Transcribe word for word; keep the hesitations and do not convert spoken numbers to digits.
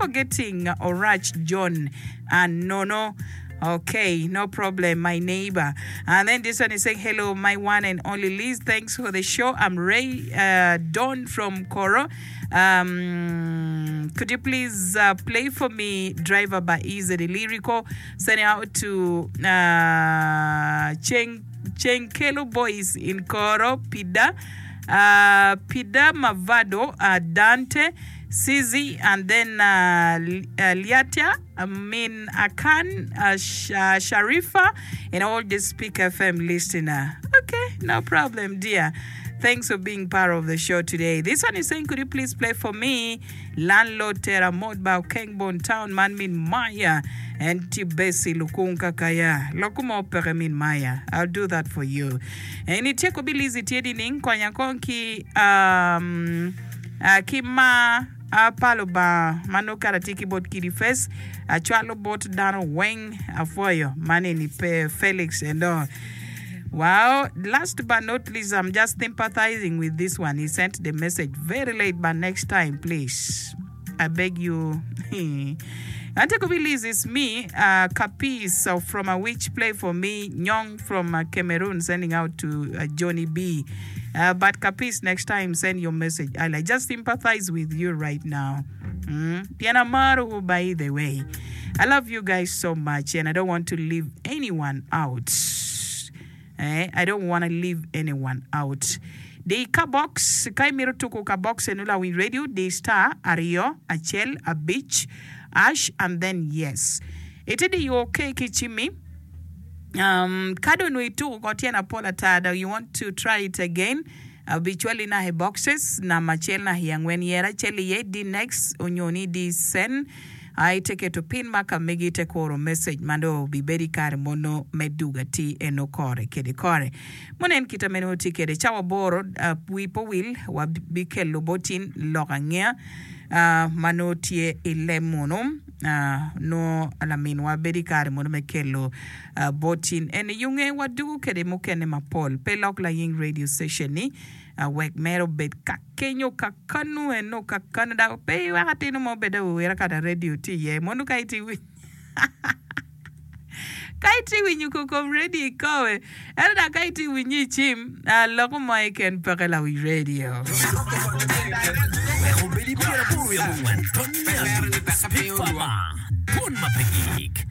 forgetting Orach John and Nono. Okay, no problem, my neighbor. And then this one is saying, hello, my one and only Liz. Thanks for the show. I'm Ray uh, Don from Koro. Um, could you please uh, play for me Driver by Easy the Lyrical? Send it out to uh, Cheng, Chenkelo Boys in Koro, Pida, uh, Pida Mavado, uh, Dante, Sizi, and then uh, uh, Liatia, Min Akan, uh, Sh- uh, Sharifa, and all the Speak F M listener. Okay, no problem, dear. Thanks for being part of the show today. This one is saying, could you please play for me Landlord Tera Modba Kengbon Town Man Min Maya and Tibesi Lukunka Kaya Lokumo Pere Min Maya. I'll do that for you. And iteko bilizi tiedi ning konya konki um uh, kima apalo ba mano karatiki bot kidi fes achwalo bot dano weng afoyo maneni pe Felix and all. Wow, last but not least, I'm just sympathizing with this one. He sent the message very late, but next time, please, I beg you. Ante Liz, it's me, uh, Kapis uh, from a witch play for me, Nyong from uh, Cameroon, sending out to uh, Johnny B. Uh, but Kapis, next time, send your message. I like just sympathize with you right now. Mm. Piana Maru, by the way. I love you guys so much, and I don't want to leave anyone out. Eh, I don't want to leave anyone out. The ka box, kai miro tuku ka box enula win radio, the star, ario, achel, a beach, ash, and then yes. Ite di you okay kichimi? Um, kado nui tuku kotiena pola tada, you want to try it again? Habitually na he boxes, na machel na hiangwen yera, cheli ye, di next, unyoni di sen. I take it to pin maka megi te koro message mando bibedi kare mono meduga ti eno kore kede kore. Monen kita meno ti kede chawa boro uh, wipo wil wa bikelo botin loka ngea uh, mano tie ile mono uh, no alamin wa bedi kare mono mekelo uh, botin ene yunge wadugu kede mukene mapol pelok la ying radio station ni. Uh, wek mero bed ka kenyo ka kanu eno ka Canada pe wakati no mo beda wera kada radio ti ye monu ka iti wi ka iti wi nyuko kom radio kowe ero da ka iti wi nyi chim uh, loko mo eken peke la wi radio. Speak Farmer, Don Mapegik.